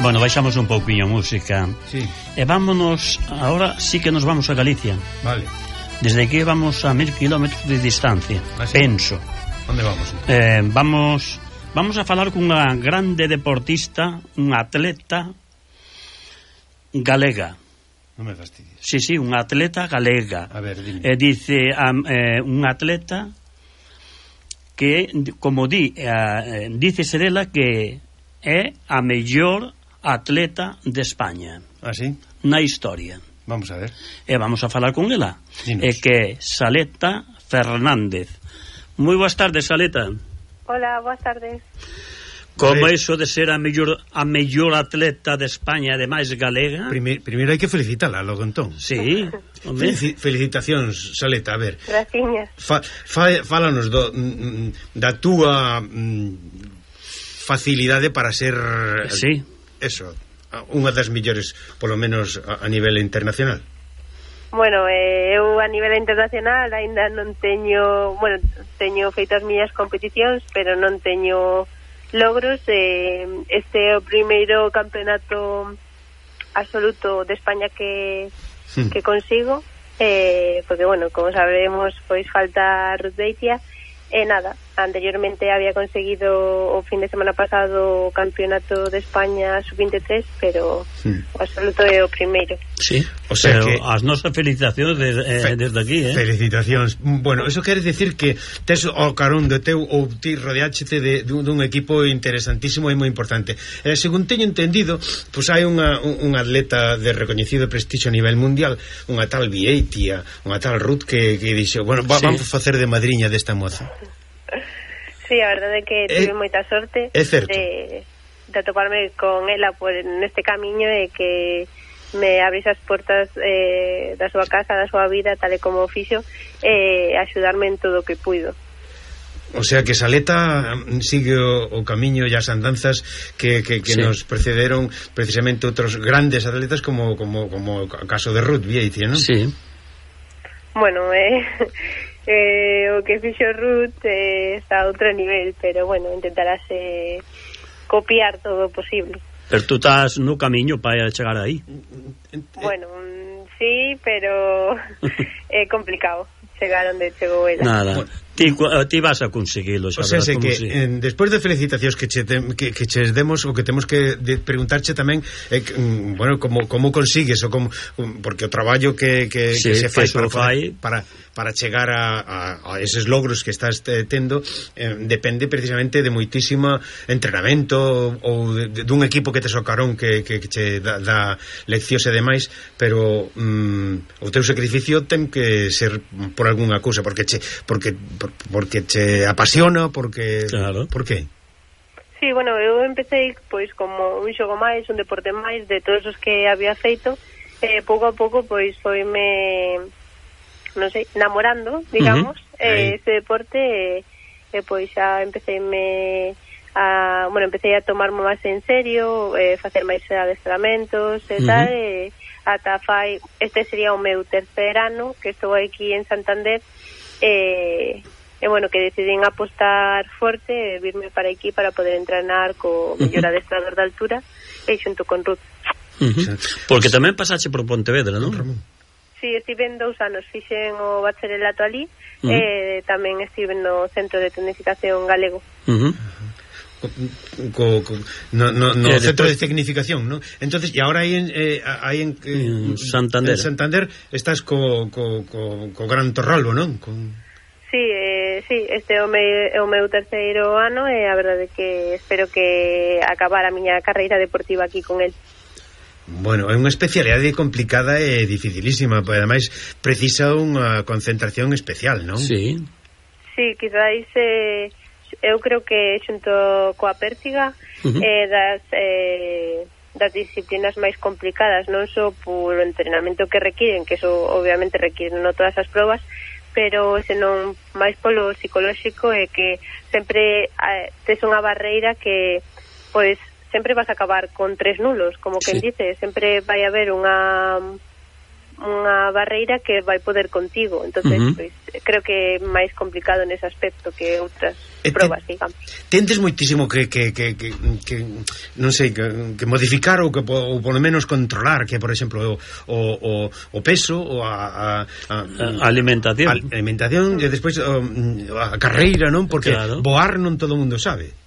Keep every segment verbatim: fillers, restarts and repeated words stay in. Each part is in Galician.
Bueno, baixamos un pouquinho a música. Sí. E vámonos, ahora sí que nos vamos a Galicia. Vale. Desde aquí vamos a mil kilómetros de distancia. ¿Ah, sí? Penso. Onde vamos? Eh, vamos vamos a falar cunha grande deportista, unha atleta galega. Non me fastidies. Sí, sí, unha atleta galega. A ver, dime. Eh, dice um, eh, unha atleta que, como di, eh, dícese dela que é a mellor atleta de España. Ah, sí? Na historia. Vamos a ver. E vamos a falar con ela. Dinos. É que é Saleta Fernández. Moi boas tardes, Saleta. Hola, boas tardes. Como Vale. iso de ser a mellor a mellor atleta de España, ademais galega? Primeiro, primeiro hai que felicitala, logo entón. Sí. Felici, felicitacións, Saleta, a ver. Graciñas. Fa, fa, fálanos do, mm, da túa mm, facilidade para ser Sí. eso, unha das mellores, polo menos a, a nivel internacional. Bueno, eh, eu a nivel internacional aínda non teño, bueno, teño feito as miñas competicións, pero non teño logros. Eh, este é o primeiro campeonato absoluto de España que, Hmm. que consigo, eh, porque, bueno, como sabemos, pois falta Ruth Beitia. E nada, anteriormente había conseguido o fin de semana pasado o campeonato de España sub veintitrés, pero Hmm. o absoluto é o primeiro. Sí. O sea Pero que- as nosas felicitacións de, eh, Fe- desde aquí, eh? Felicitacións. Bueno, eso quere decir que tes o carón do teu ou ti rodeáchete de, dun, dun equipo interesantísimo e moi importante. Eh, según teño entendido, pois hai unha, un, unha atleta de recoñecido prestixio a nivel mundial, unha tal Vieitia, unha tal Ruth que, que dixo, bueno, va, Sí. vamos facer de madriña desta moza. Sí, a verdade é que tive É- moita sorte é certo. de, de atoparme con ela por neste camiño e que me abris as portas eh, da súa casa, da súa vida, tal e como o fixo, e eh, axudarme en todo o que puido. O sea que Saleta mm, sigue o, o camiño e as andanzas que, que, que Sí. nos precederon precisamente outros grandes atletas como, como, como o caso de Ruth Vieitia, non? Sí. Bueno, eh, eh, o que fixo Ruth eh, está a outro nivel, pero bueno, intentarase copiar todo o posible. Pero tú estás no camiño para chegar aí. Bueno, mm, sí, pero é complicado chegar onde chegou ela. Nada. Bueno. Ti, cu- eh, ti vas a conseguilo, O xa sea, verás sei como que si. eh, despois de felicitacións que che, tem, que, que che demos, o que temos que de, preguntarche tamén é que, mm, bueno, como, como consigues o como, um, porque o traballo que, que, Sí, que se fai que se para, fai. para, para chegar a, a, a eses logros que estás te, tendo eh, depende precisamente de moitísimo entrenamento ou de, de, dun equipo que te socarón que, que, que che dá, dá leccións e demais, pero mm, o teu sacrificio ten que ser por algunha cousa, porque che, porque, por, porque che apasiona, porque... Claro. Por que? Sí, bueno, eu empecé pois como un xogo máis, un deporte máis de todos os que había feito, e eh, pouco a pouco pois foime, non sei, namorando, digamos, Uh-huh. eh, Aí. ese deporte, e eh, pois xa empecéme a, bueno, empecé a tomarme máis en serio, eh, facer máis adestramentos e Uh-huh. tal, e ata fai, este sería o meu tercer ano que estou aquí en Santander, e E bueno, que decidín apostar forte e virme para aquí para poder entrenar co mellor adestrador de altura e xunto con Ruth. Uh-huh. Porque tamén pasache por Pontevedra, non? Ramón. Sí, estive en dous anos, fixen o bacharelato ali, Uh-huh. e tamén estive no Centro de Tecnificación Galego. Uh-huh. Co, co, no, no, no Eh, centro despois- de tecnificación, ¿no? Entonces, y ahora aí en, eh, aí en, eh, En Santander. en Santander estás co, co, co, co Gran Torralbo, non? Con... Sí, eh, sí, este é o meu, é o meu terceiro ano e a verdade é que espero que acabar a miña carreira deportiva aquí con el. Bueno, é unha especialidade complicada e dificilísima, pero ademais precisa unha concentración especial, non? Sí. Sí, quizáis eh, eu creo que xunto coa pértiga Uh-huh. eh, das eh, das disciplinas máis complicadas, non só por o entrenamento que requiren, que eso obviamente requiren no todas as probas, pero senón máis polo psicolóxico, é que sempre eh, tes unha barreira que pois sempre vas a acabar con tres nulos, como quen sí. dice, sempre vai haber unha unha barreira que vai poder contigo, entonces uh -huh. pois, creo que é máis complicado nese aspecto que outras e probas, te, digamos. Tendes moitísimo que, que, que, que, que non sei, que, que modificar ou que ou polo menos controlar, que por exemplo o, o, o peso ou a, a, a, a alimentación, a alimentación e despois a, a carreira, non? Porque claro. voar non todo o mundo sabe.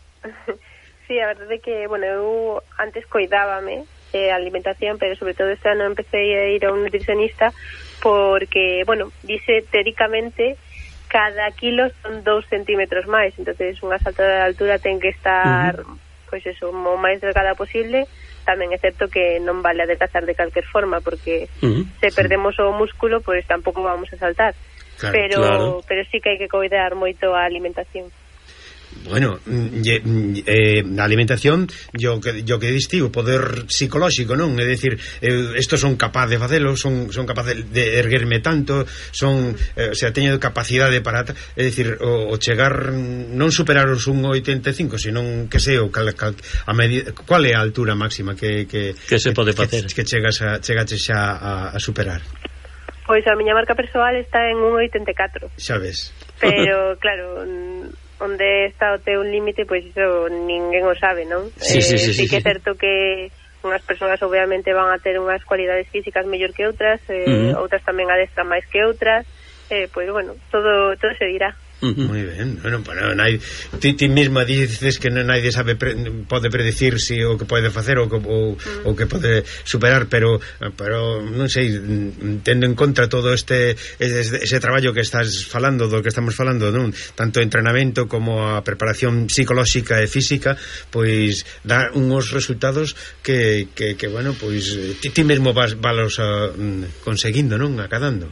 Sí, a verdade é que, bueno, eu antes coidábame eh, alimentación, pero sobre todo este ano empecé a ir a un nutricionista porque, bueno, dice teóricamente cada kilo son dous centímetros máis, entonces unha salta de altura ten que estar, uh -huh. pois eso, o máis delgada posible. Tamén é certo que non vale adelgazar de calquer forma, porque uh -huh. se perdemos o músculo, pois tampouco vamos a saltar. Claro, pero claro. pero sí que hai que cuidar moito a alimentación. Bueno, eh, a alimentación yo que, yo que diste o poder psicolóxico, non? É dicir, eh, estos son capaz de facelo, son, son capaz de, de erguerme tanto, son, eh, o sea, teño capacidade para, é dicir, o, o chegar, non superar os un oitenta e cinco, senón que sei o cal, cal, a medida, cual é a altura máxima que que, que se pode facer, que, que chegas a chegaches xa a, a superar. Pois a miña marca persoal está en un oitenta e catro. Xa ves. Pero claro, onde está o teu límite, pois iso ninguén o sabe, non? Sí, sí, sí, eh, sí, sí que é sí. certo que unhas persoas obviamente van a ter unhas cualidades físicas mellor que outras, eh, uh -huh. outras tamén adestran máis que outras, eh, pois bueno, todo todo se dirá. Uh -huh. Moi ben, bueno, para nai, ti, ti mesma dices que non nadie sabe pre, pode predecir si o que pode facer ou, ou, uh-huh. o que pode superar, pero pero non sei, tendo en contra todo este ese, ese traballo que estás falando, do que estamos falando, non? Tanto entrenamento como a preparación psicolóxica e física, pois dá uns resultados que, que, que bueno, pois ti, ti mesmo vas valos a, conseguindo, non? Acadando.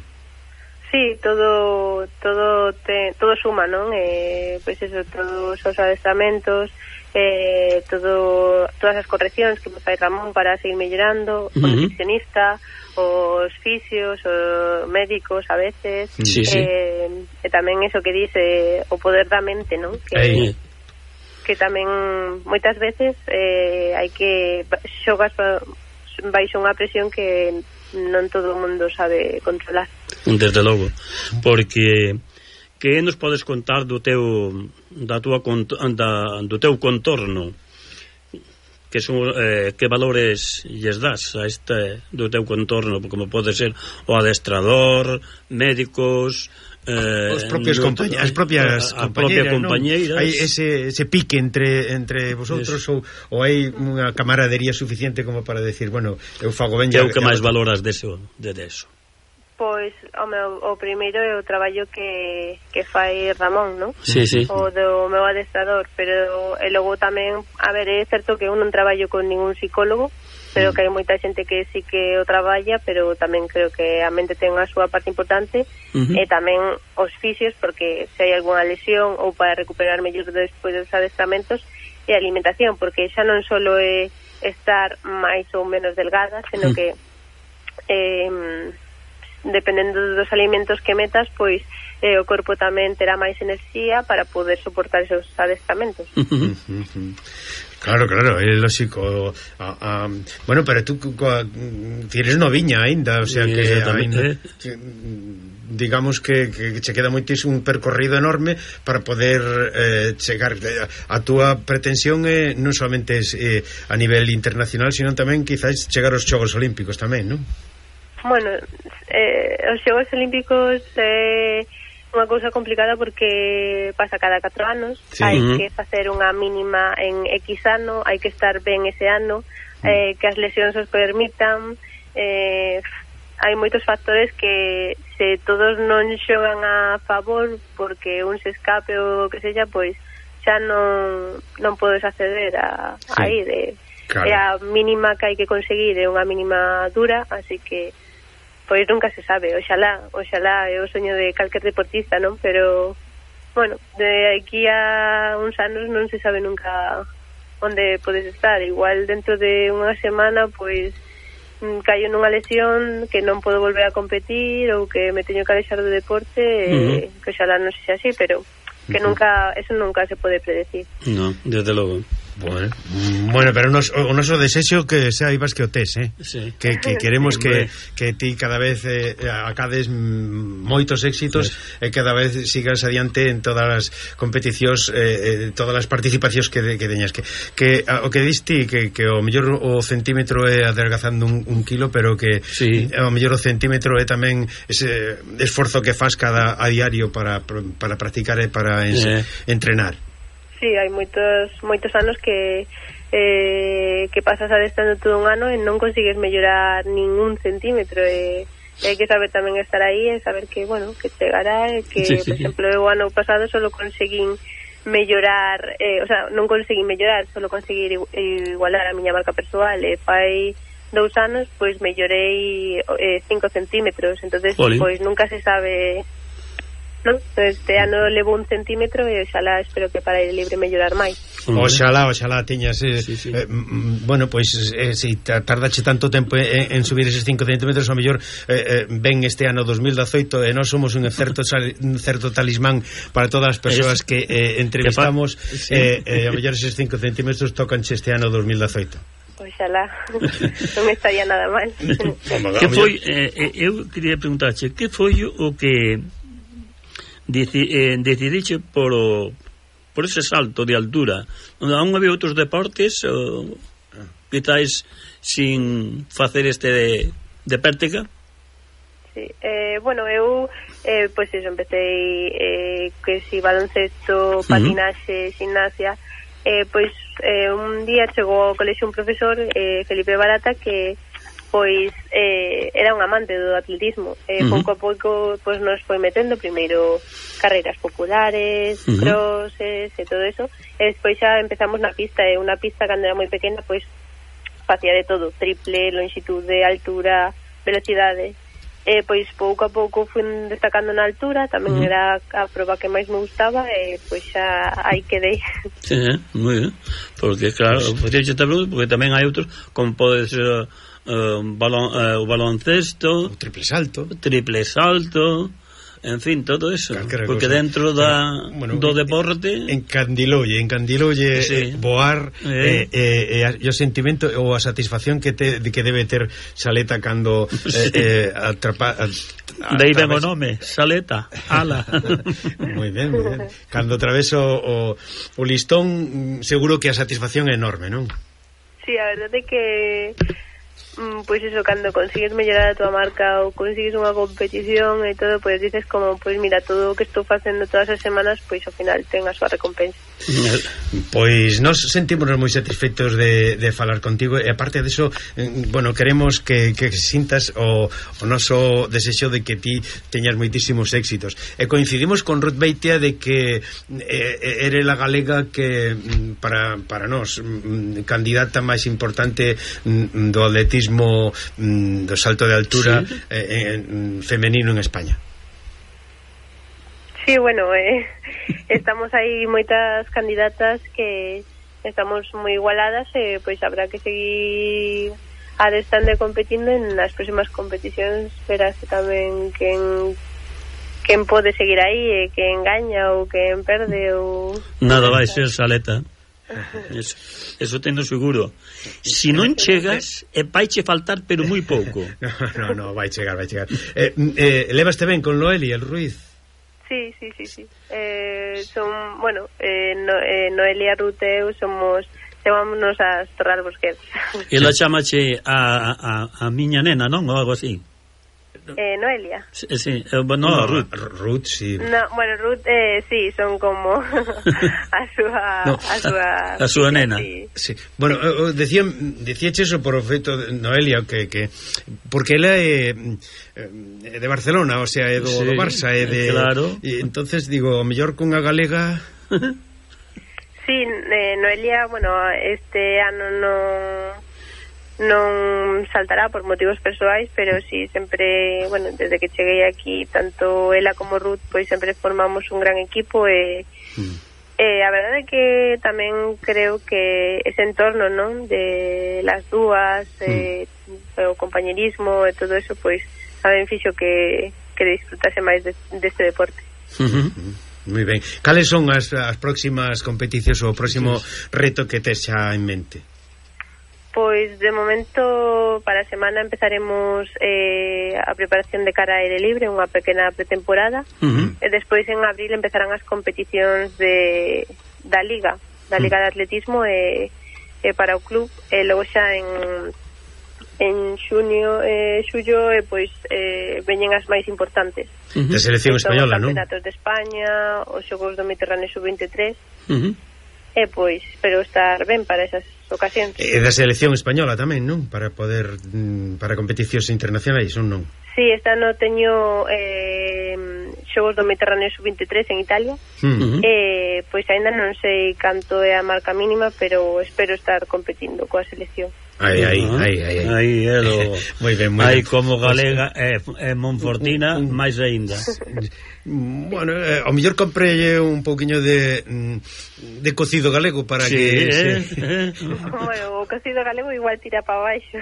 Sí, todo todo te, todo suma, non? Eh, pois eso, todos os adestramentos, eh, todo todas as correccións que me fai Ramón para seguir mellorando, uh -huh. o nutricionista, os fisios, os médicos a veces, sí, sí. Eh, e tamén eso que dice o poder da mente, non? Que Aí. que tamén moitas veces eh, hai que xogas baixo unha presión que non todo o mundo sabe controlar. Desde logo, porque que nos podes contar do teu da tua da, do teu contorno, que son eh, que valores lles das a este do teu contorno, como pode ser o adestrador, médicos, eh, os propios compañeros, as propias a, a propia compañeiras, hai ese, ese pique entre entre vosotros ou, ou hai unha camaradería suficiente como para decir, bueno, eu fago ben. Que é o que máis valoras deso, de deso? Pois o meu o primeiro é o traballo que que fai Ramón, non? Sí, sí. O do meu adestrador, pero e logo tamén, a ver, é certo que eu non traballo con ningún psicólogo, pero que hai moita xente que sí que o traballa, pero tamén creo que a mente ten a súa parte importante, uh -huh. e tamén os fisios, porque se hai algunha lesión ou para recuperar mellor despois dos adestramentos, e a alimentación, porque xa non só é estar máis ou menos delgada, senón uh -huh. que eh, dependendo dos alimentos que metas, pois eh, o corpo tamén terá máis enerxía para poder soportar esos adestramentos. Uh -huh. Uh -huh. Claro, claro, é lógico. A, a, bueno, pero tú tienes noviña aínda, o sea que aínda, que, digamos que, que che queda moitísimo un percorrido enorme para poder eh, chegar. A túa pretensión é non solamente es, eh, a nivel internacional, sino tamén quizás chegar aos Xogos Olímpicos tamén, non? Bueno, eh, os Xogos Olímpicos é eh, unha cousa complicada porque pasa cada catro anos, sí. Hai uh -huh. que facer unha mínima en X ano, hai que estar ben ese ano, uh -huh. eh, que as lesións os permitan, eh, hai moitos factores que se todos non xogan a favor porque un se escape ou que sella, pois xa non non podes acceder a, sí. a ir, eh. Claro. E a mínima que hai que conseguir é unha mínima dura, así que pois nunca se sabe, oxalá, oxalá é o soño de calquer deportista, non? Pero, bueno, de aquí a uns anos non se sabe nunca onde podes estar. Igual dentro de unha semana pois caio nunha lesión que non podo volver a competir ou que me teño que alexar do deporte, uh-huh. eh, que oxalá non sexa así, pero que uh-huh. nunca, eso nunca se pode predecir. No, desde logo. Bueno, bueno, pero nos, o noso desexo que saibas que o tes, eh? Sí. Que, que queremos que, que ti cada vez eh, acades moitos éxitos sí. e cada vez sigas adiante en todas as competicións, eh, todas as participacións que, de, que deñas que, que o que diste que, que o mellor o centímetro é adelgazando un, un kilo, pero que sí. o mellor o centímetro é tamén ese esforzo que faz cada a diario para, para practicar e para ens, eh. entrenar. Sí, hai moitos moitos anos que eh, que pasas adestrando todo un ano e non consigues mellorar ningún centímetro e hai que saber tamén estar aí e saber que, bueno, que chegará e que, sí, sí. por exemplo, o ano pasado solo conseguín mellorar, eh, o sea, non conseguín mellorar, solo conseguir igualar a miña marca persoal e fai dous anos, pois mellorei eh, cinco centímetros, entonces Oli. pois nunca se sabe... Non? Este ano levo un centímetro e oxalá espero que para ir libre mellorar máis. Oxalá, oxalá tiñas eh, sí, sí. eh, bueno, pois eh, se si tardache tanto tempo en, en subir eses cinco centímetros, ao mellor eh, eh, ven este ano dos mil dezoito e nós somos un certo un certo talismán para todas as persoas que eh, entrevistamos sí. eh, eh, ao mellor eses cinco centímetros tocanche este ano dos mil dezoito. Oxalá, non me estaría nada mal. Que foi, eh, eu quería preguntarche, que foi o que Deci, eh, decidiche por o, por ese salto de altura? Non había outros deportes ou, quizáis sin facer este de, de pértiga? Sí, eh, bueno, eu eh, pois pues eso, empecé eh, que si baloncesto, patinaxe, uh-huh. gimnasia, eh, pois eh, un día chegou ao colexio un profesor, eh, Felipe Barata, que pois eh, era un amante do atletismo e uh-huh. pouco a pouco pois nos foi metendo primeiro carreiras populares, uh-huh. crosses e todo eso, e despois xa empezamos na pista, e unha pista cando era moi pequena pois facía de todo, triple, longitude, altura, velocidade, e pois pouco a pouco fui destacando na altura, tamén uh-huh. era a proba que máis me gustaba e pois xa aí quedei. Sí, moi ben, porque claro, porque tamén hai outros como pode ser Uh, balon, uh, o baloncesto, o triple salto, o triple salto, en fin, todo eso. Calquera porque cosa. Dentro da, bueno, do deporte encandiloulle, encandiloulle sí. eh, voar eh. Eh, eh, eh, o sentimento ou a satisfacción que te, de que debe ter Saleta cando sí. eh, eh, atrapa a, a, de aí ven o nome, Saleta, ala. Moi ben, moi ben. Cando atraveso o, o listón, seguro que a satisfacción é enorme, non? Sí, a verdade é que pois eso, cando consigues mellorar a tua marca ou consigues unha competición e todo, pois dices como, pois mira, todo o que estou facendo todas as semanas, pois ao final ten a súa recompensa. Pois nos sentímonos moi satisfeitos de, de falar contigo e aparte de eso, bueno, queremos que, que sintas o, o noso desexo de que ti teñas moitísimos éxitos e coincidimos con Ruth Beitia de que eh, ere la galega que para, para nós candidata máis importante do atletismo do salto de altura sí. eh, en, femenino en España. Sí, bueno, eh, estamos aí moitas candidatas que estamos moi igualadas e eh, pois habrá que seguir adestando e competindo en as próximas competicións, verás tamén quen quen pode seguir aí e quen gaña ou quen perde ou nada vai ser Saleta. Eso, eso tendo seguro. Si non chegas, e vaiche faltar, pero moi pouco. No, no, no, vai chegar, vai chegar. Eh, eh, levaste ben con Noelia, el Ruiz? Sí, sí, sí, sí. Eh, son, bueno, eh, no, eh, Noelia, Ruth e eu somos, chamámonos as Torral Bosquets. E la chamache a, a, a miña nena, non? Ou algo así. Eh, Noelia. Sí, sí. Eh, no, no, Ruth. Ruth, sí. No, bueno, Ruth, eh, sí, son como a súa no, a súa a súa nena. Sí. Sí. Bueno, eh, decía decíache eso por o feito de Noelia que que porque ela é eh, de Barcelona, o sea, é do, sí, do Barça, é de claro. E entonces digo, o mellor cunha galega. Sí, eh, Noelia, bueno, este ano non non saltará por motivos persoais, pero sí, sempre, bueno, desde que cheguei aquí, tanto ela como Ruth, pois sempre formamos un gran equipo e, mm. Eh, a verdade é que tamén creo que ese entorno, non, de las dúas, eh, mm. o compañerismo e todo eso, pois tamén fixo que, que disfrutase máis de, deste deporte. Uh-huh. Moi ben. Cales son as, as próximas competicións ou o próximo reto que tes xa en mente? Pois de momento para a semana empezaremos eh, a preparación de cara a aire libre, unha pequena pretemporada, uh-huh. e despois en abril empezarán as competicións de, da Liga da Liga uh-huh. de Atletismo e, e para o club, e logo xa en en xunio e eh, xullo e pois eh, veñen as máis importantes, uh-huh. de selección española, non? Os campeonatos de España, os xogos do Mediterráneo sub veintitrés, uh-huh. e pois espero estar ben para esas ocasións. E da selección española tamén, non? Para poder para competicións internacionais, ou non? Sí, esta ano teño eh, xogos do Mediterráneo sub veintitrés en Italia. Uh-huh. eh, pois aínda non sei canto é a marca mínima, pero espero estar competindo coa selección. Aí, aí, aí, aí. Aí é do... Moi ben, moi aí ben. como galega e eh, Monfortina, máis aínda. Bueno, eh, ao mellor comprelle un pouquiño de de cocido galego para sí, que eh, se... eh. Bueno, o cocido galego igual tira para baixo.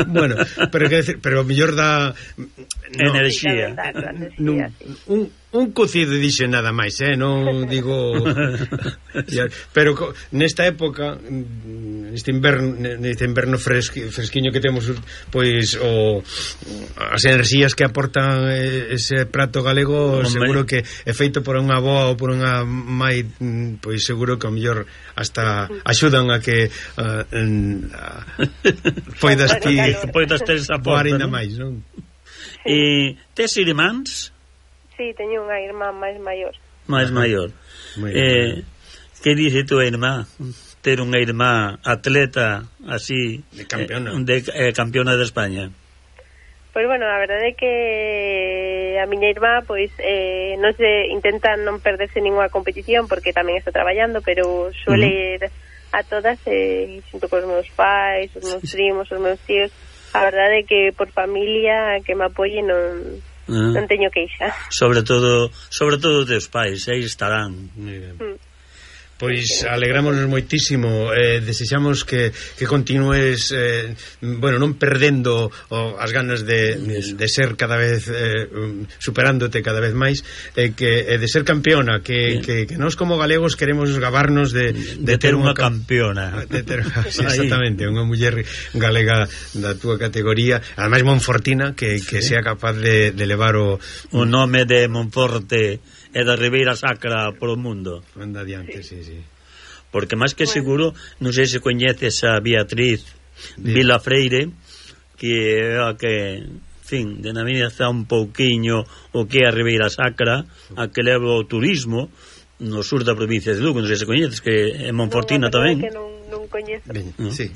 Bueno, pero que decir, pero ao mellor dá no, enerxía. Da, da, enerxía no, sí. un un cocido dixe nada máis, eh, non digo pero co, nesta época neste inverno neste inverno fresqui, fresquiño que temos, pois o as enerxías que aportan ese prato galego, hombre, seguro que é feito por unha boa ou por unha mai, pois seguro que ao mellor hasta axudan a que uh, uh, poidas ti poidas ter esa porta, ainda máis, non? E tes irmáns? Sí, teño unha irmá máis maior. Máis maior. Eh, que dice tu irmá? Ter unha irmá atleta así, de campeona, eh, de eh, campeona de España. Pois bueno, a verdade é que a miña irmá pois eh, non se intenta non perderse ninguna competición porque tamén está traballando, pero suele uh-huh. ir a todas eh, xunto cos meus pais, os meus primos, os meus tíos. A verdade é que por familia que me apoie non Uh, non teño queixa. Sobre todo, sobre todo teus pais, aí estarán. Mm. Pois alegrámonos moitísimo, eh, desexamos que, que continúes eh, bueno, non perdendo o, as ganas de, de, de ser cada vez eh, superándote cada vez máis, eh, que, eh, de ser campeona, que, que, que nós como galegos queremos gabarnos de, de, de ter unha campeona, de ter, sí, exactamente, unha muller galega da túa categoría, ademais Monfortina, que, que sí. sea capaz de, de levar o, o nome de Monforte e da Ribeira Sacra polo mundo. Anda adiante, sí, sí. Porque máis que seguro, non sei se coñeces a Beatriz sí. Vilafreire, que é a que, en fin, denomina un pouquiño o que é a Ribeira Sacra, a que leva o turismo no sur da provincia de Lugo, non sei se coñeces, que é Monfortina no, tamén. Que non, non coñezo. Ben, ¿no? Sí.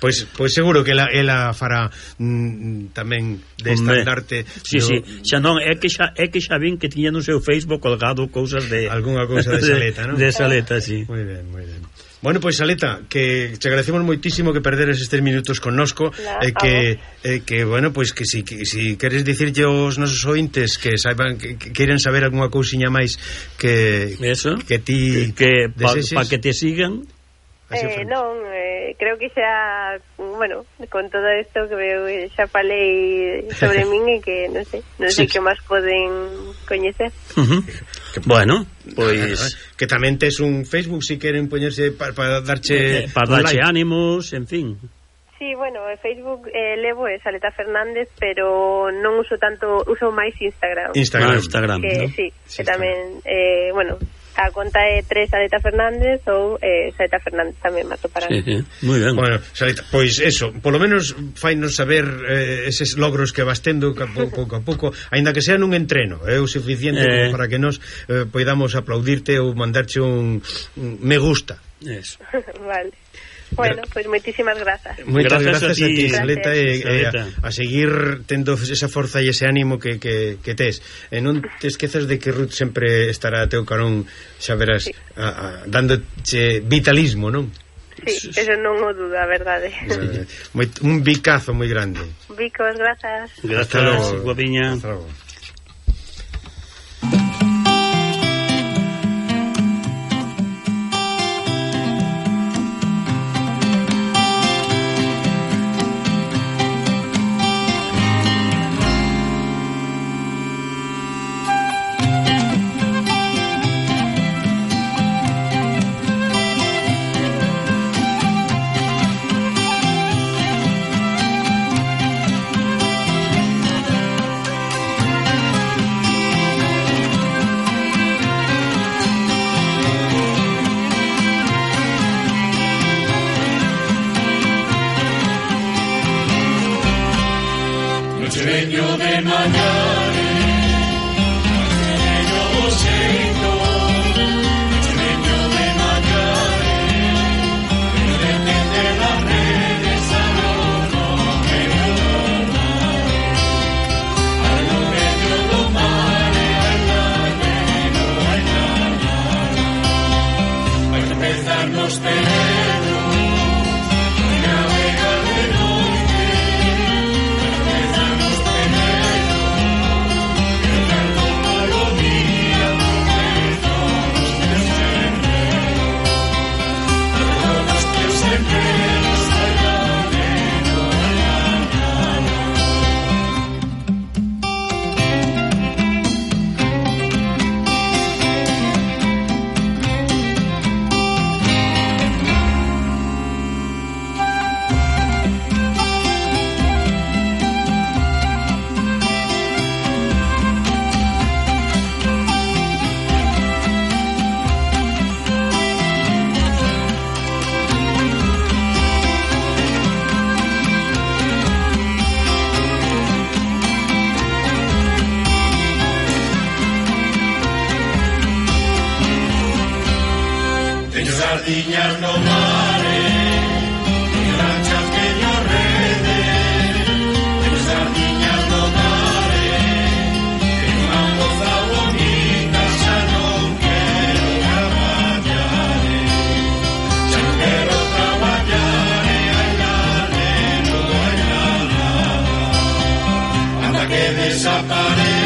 Pois, pois seguro que ela, ela fará mm, tamén de estandarte. Sí, no... sí, xa non, é que xa, é que xa vin que tiña no seu Facebook colgado cousas de... Algúnha cousa de Saleta, non? De Saleta, sí. Moi ben, moi ben. Bueno, pois Saleta, que te agradecemos moitísimo que perderes estes minutos connosco, e eh, que, eh, que, bueno, pois que si, que, si queres dicirlle aos nosos ointes que saiban, que, que queiran saber algunha cousiña máis que, eso, que ti que, pa, pa que te sigan. Eh, non, eh, creo que xa, bueno, con todo isto que veo, xa falei sobre min e que non sei, non sei sí. que máis poden coñecer. Uh-huh. Bueno, pois que tamén tes un Facebook se si queren poñerse para pa darche eh, para darche like. Ánimos, en fin. Sí, bueno, en Facebook eh, levo é Saleta Fernández, pero non uso tanto, uso máis Instagram. Instagram, ah, Instagram, que, ¿no? Sí, sí, que tamén, eh, bueno, a conta é tres Saleta Fernández ou eh, Saleta Fernández tamén me atoparán. Sí, sí, moi ben. Bueno, Saleta, pois eso, polo menos fainos saber eh, eses logros que vas tendo pouco a pouco, aínda que sea nun entreno, é eh, o suficiente eh... para que nos eh, poidamos aplaudirte ou mandarche un, un me gusta. Eso. Vale. Bueno, pois pues moitísimas grazas. Moitas grazas, grazas a ti, Saleta, e, e a, a seguir tendo esa forza e ese ánimo que, que, que tes. E non te esquezas de que Ruth sempre estará a teu carón, xa verás, sí. a, a, dándoche vitalismo, non? Sí, eso non o dudo, a verdade. Moi, un bicazo moi grande. Bicos, grazas. Grazas, guapiña. Hasta logo. Sereño de mañare, sereño do xeito, sereño de mañare, pero depende das redes a lo medio do mare, a lo medio do mare, ai lalero, ai lalero, vai empezar nos terenos, vai navegar de noite, vai empezar nos sardiñas no mare, teño lanchas, teño rede, teño sardiñas no mare, teño unha moza bonita, xa non quero traballar, xa non quero traballar, ai lalero, ai lalero, anda que desaparece.